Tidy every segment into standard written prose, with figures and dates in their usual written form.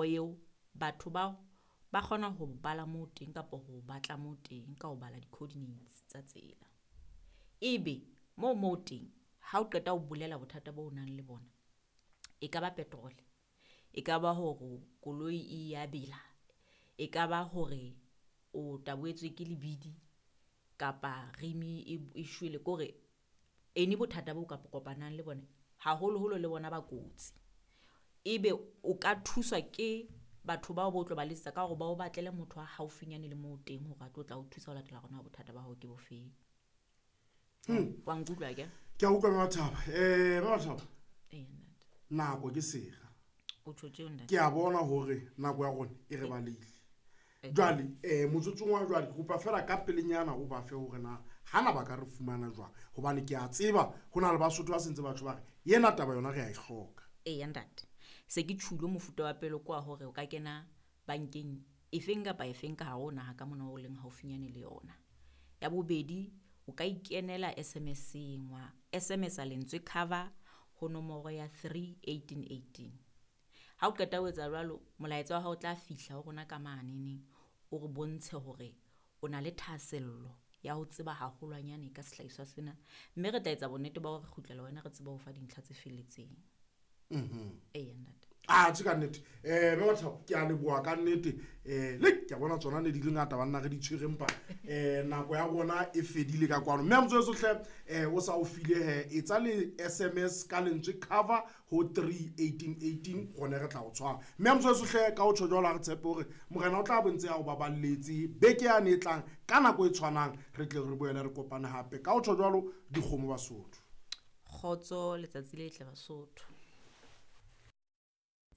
Eo batho bao ba kgona ho bala moo teng kapa ho batla moo teng ka ho bala di-coordinates tsa tsela. Ebe moo mo teng ha o qeta ho bolela bothata bo o nang le bona, e ka ba petrol, e ka ba hore koloi e ya bela, e ka ba hore o tabohetswe ke lebidi kapa rimi e shwele kore any bothata bo kapa kopanang le bona, haholoholo le bona ba kotsi. Ebe o ka thuswa ke batho bao bo tlo ba letsetsa ka hore ba o batlele motho a haufinyane le moo teng hore a tlo tla o thusa ho latela hore na bothata ba hao ke bofeng. Wa nkutlwa akere? Ke a utlwa Mme Mathabo. Mme Mathabo. Eya ntate. Nako ke sera. O tjho tjeo ntate. Ke a bona hore nako ya rona e re balehile. Jwale motsotsong wa jwale ke kopa fela ka pelenyana o ba fe hore na hana ba ka re fumana jwang, hobane ke a tseba ho na le Basotho ba sentse batho ba re ena taba yona re a e hloka. Eya ntate, se ke tjhulo mofuta wa pele kwa hore o ka kena bankeng efeng kapa efeng ka hare ho naha ka mona o leng haufinyane le yona. Ya bobedi, o ka ikenela SMS-eng wa SMS-a lentswe cover ho nomoro ya 3 18 18. Ha o qeta ho etsa jwalo, molaetsa wa hao o tla fihla ho rona ka maneneng, o re bontshe hore o na le thahasello ya ho tseba haholwanyane ka sehlahiswa sena, mme re tla etsa bonnete ba hore re kgutlela wena re tsebe ho fa dintlha tse felletseng. Eya ntate. A tjhe ka nnete. Mme Mathabo ke a leboha ka nnete. Le ke a bona tsona ne di le ngata banna re di tshwere empa nako ya rona e fedile ka kwano. Mme motswetse hle o sa o file he etsa le SMS ka lentswe cover ho 3 18 18 rone re tla o tshwara. Mme motswetse hle ka o tjho jwalo ha re tshepe hore morena o tla bontse a o baballetse beke yane e tlang ka nako e tshwanang re tle re boele re kopane hape. Ka o tjho jwalo dikgomo Basotho. Kgotso letsatsi le tle Basotho.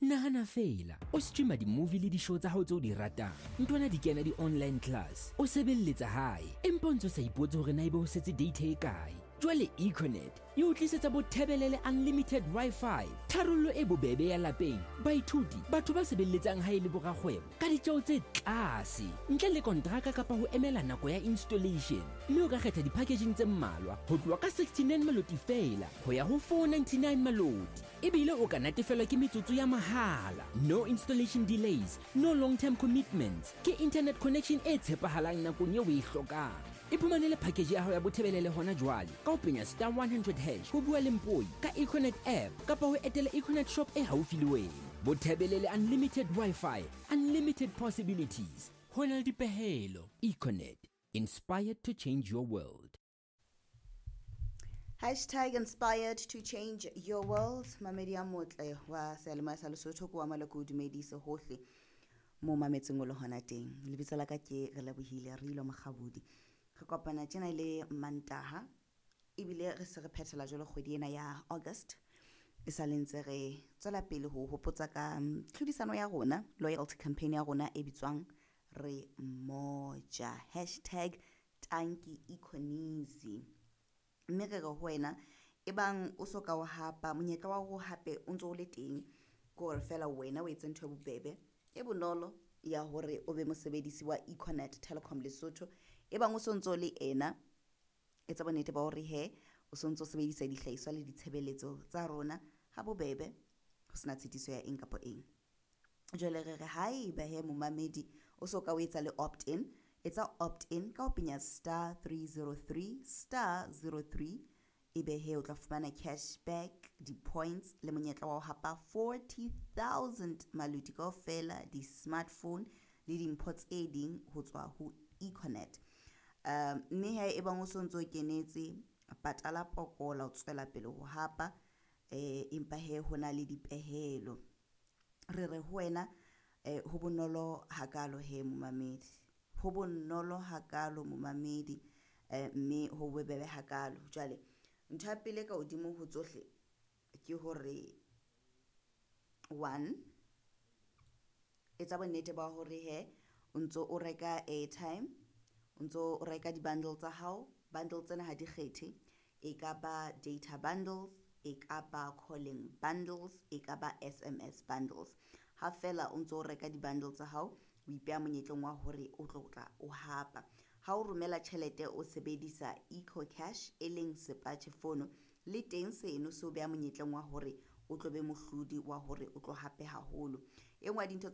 Nahana fela o streama di-movie le di-show tsa hao tse o di ratang, ntwana di kena di-online class, o sebelletsa hae empa o ntse o sa ipotse hore na ebe ho setse data e kae. Jwale Econet e o tlisetsa bothebelele unlimited Wi-Fi, tharollo e bobebe ya lapeng, baithuti, batho ba sebelletsang hae le borakgwebo ka ditjeo tse tlase ntle le kontraka kapa ho emela nako ya installation. Mme o ka kgetha di-packaging tse mmalwa ho tloha ka 69 maloti fela ho ya ho 499 maloti, ebile o ka natefelwa ke metsotso ya mahala. No installation delays, no long term commitments, ke internet connection e tshepahalang nakong eo o e hlokang. Iphumanele package ya hao ya bothebelele hona jwale ka ho penya *100# ho bua le mpoi ka Econet app kapa ho etela Econet shop e haufi le wena. Bothebelele unlimited Wi-Fi, unlimited possibilities. Ho na le dipehelo. Econet, inspired to change your world. #InspiredToChangeYourWorld. Mamedi a motle wa seyalemoya sa Lesotho, ke wa maloko o dumedise hohle mo mametseng o le hona teng. Lebitso la ka ke re lebohile re ilo Mokgabudi. Re kopana tjena le Mantaha, ebile re se re phethela jwalo kgwedi ena ya August. E sa le ntse re tswela pele ho hopotsa ka tlhodisano ya rona, loyalty campaign ya rona e bitswang Re Moja, #TankiEconisi. Mme re re ho wena ebang o so ka o hapa, monyetla wa hore hape o ntso o le teng, ke hore fela wena o etse ntho e bobebe e bonolo ya hore o be mosebedisi wa Econet Telecom Lesotho. Ebang o so ntso le ena, etsa bonnete ba hore he o so ntso sebedisa dihlahiswa le ditshebeletso tsa rona ha bobebe, ho sena tshitiso ya eng kapa eng. Jwale re re haeba he momamedi o so ka o etsa le opt in, etsa opt in ka ho penya *303*03, ebe he o tla fumana cashback, di-points le monyetla wa ho hapa 40,000 maloti kaofela, di-smartphone le dimpho tse ding ho tswa ho Econet. Mme he ebang o so ntso kenetse, patala pokola o tswela pele ho hapa, empa he ho na le dipehelo. Re re ho wena ho bonolo hakalo he momamedi, ho bonolo hakalo momamedi, mme ho bobebe hakalo. Jwale ntho ya pele ka hodimo ho tsohle ke hore one, etsa bonnete ba hore he o ntso o reka airtime, o ntso o reka di-bundle tsa hao. Bundle tsena ha di kgethe, e ka ba data bundles, e ka ba calling bundles, e ka ba SMS bundles. Ha fela o ntso o reka di-bundle tsa hao, o ipeha monyetleng wa hore o tlo tla o hapa. Ha o romela tjhelete o sebedisa EcoCash e leng sepatjhe fono, le teng seno se o beha monyetleng wa hore o tlo be mohlodi wa hore o tlo hape haholo. E nngwe ya dintho